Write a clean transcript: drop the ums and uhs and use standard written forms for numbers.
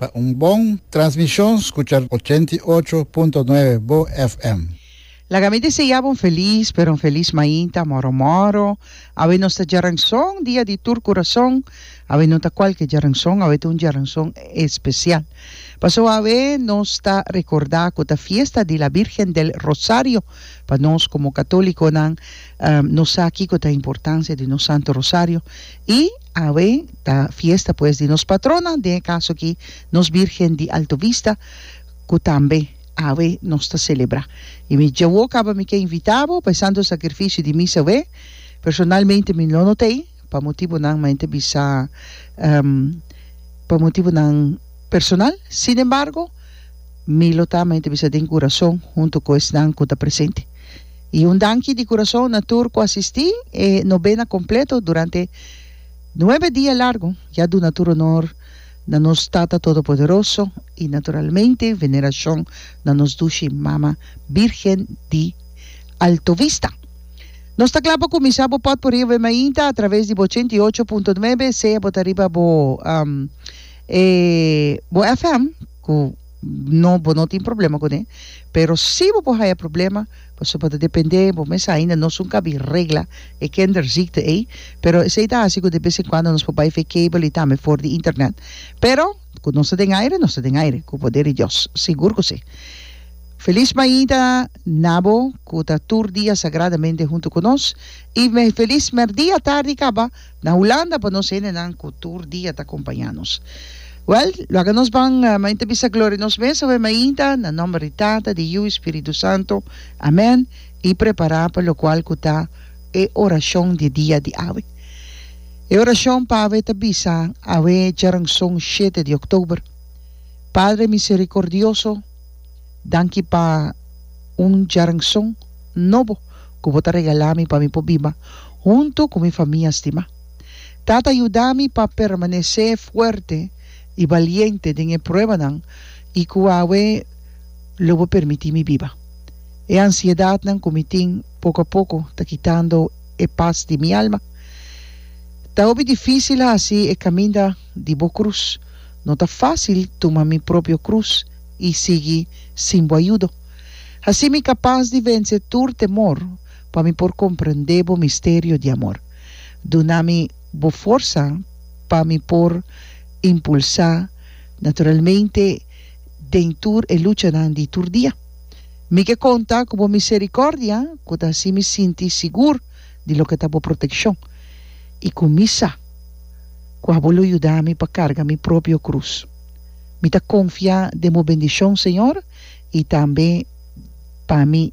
Pa un bon transmishon skucha 88.9 Bo FM. Laga mi desea bo un felis pero un felis mainta moro moro. Awe nos ta djaranson, dia di tur kurason. Awe no ta kualke djaranson, awe ta un djaranson espesial. Pasobra awe nos ta rekordá ku ta fiesta di la Virgen del Rosario. Pa nos komo katólikonan nos sa kiko ta importansia di nos Santo Rosario. I awe ta fiesta pues di nos patrona, den e kaso aki nos Virgen di Alto Vista ku tambe awe nos ta selebrá. I mi djawo kaba mi ke invitá bo pa e Santo Sakrifisio di Misa awe. Personalmente mi lo no t'ei pa motibunan mi ta bisa pa motibunan personal. Sin embargo mi lo ta mi ta bisa den kurason huntu ku esnan ku ta presente. I un danki di kurason na tur ku asistí e nobena kompleto durante nuebe dia largu. Ya duna tur honor na nos Tata Todopoderoso i naturalmente venerashon na nos dushi Mama Birgen di Alto Vista. Nos ta kla pa kuminsá bo pòtpurrí awe mainta atraves di bo 88.9 sea bo ta riba bo e bo FM ku No, bo no tin problema kuné, pero si bo por haya problema, pasobra bo ta dependé, bo mes ainda no sun kabi regla e kinderziekte ei, pero esei ta hasi ku de bes en kuando nos por bai fe cable i tambe for di internet. Pero ku nos ta den aire, nos ta den aire, ku poder di Dios, sigur ku si. Felis mainta na bo ku ta tur dia sagradamente huntu ku nos, i felis mèrdia, tardi kaba. Na Hulanda pa nos hendenan ku tur dia ta kompañá nos. Wèl, laga nos ban mainta bisa gloria nos mes awe mainta, na nòmber di Tata, di Yu i Spiritu Santu. Amèn. I prepará pa lokual ku ta e orashon di dia di awe. E orashon pa awe ta bisa awe djaranson shete di òktober. Padre miserikordioso, danki pa un djaranson nobo ku bo ta regalá mi pa mi por biba huntu ku mi famia stimá. Tata yuda mi pa permanesé fuerte i baliente den e pruebanan i ku awe lo bo permití mi biba. E ansiedatnan ku mi tin poko a poko ta kitando e pas di mi alma. Ta hopi difísil hasi e kaminda di bo krus. No ta fásil tuma mi propio krus i sigui sin bo ayudo. Hasi mi kapas di vense tur temor pa mi por comprende bo misterio di amor. Duna mi bo forsa pa mi por impulsa naturalmente den tur e luchanan di tur dia. Mi ke conta cu bo misericordia cu ta haci mi sinti sigur di loke ta bo proteccion y cu mi sa cu abo lo yuda mi pa carga mi propio cruz. Mi ta confia den bo bendicion, Señor, y tambe pa mi.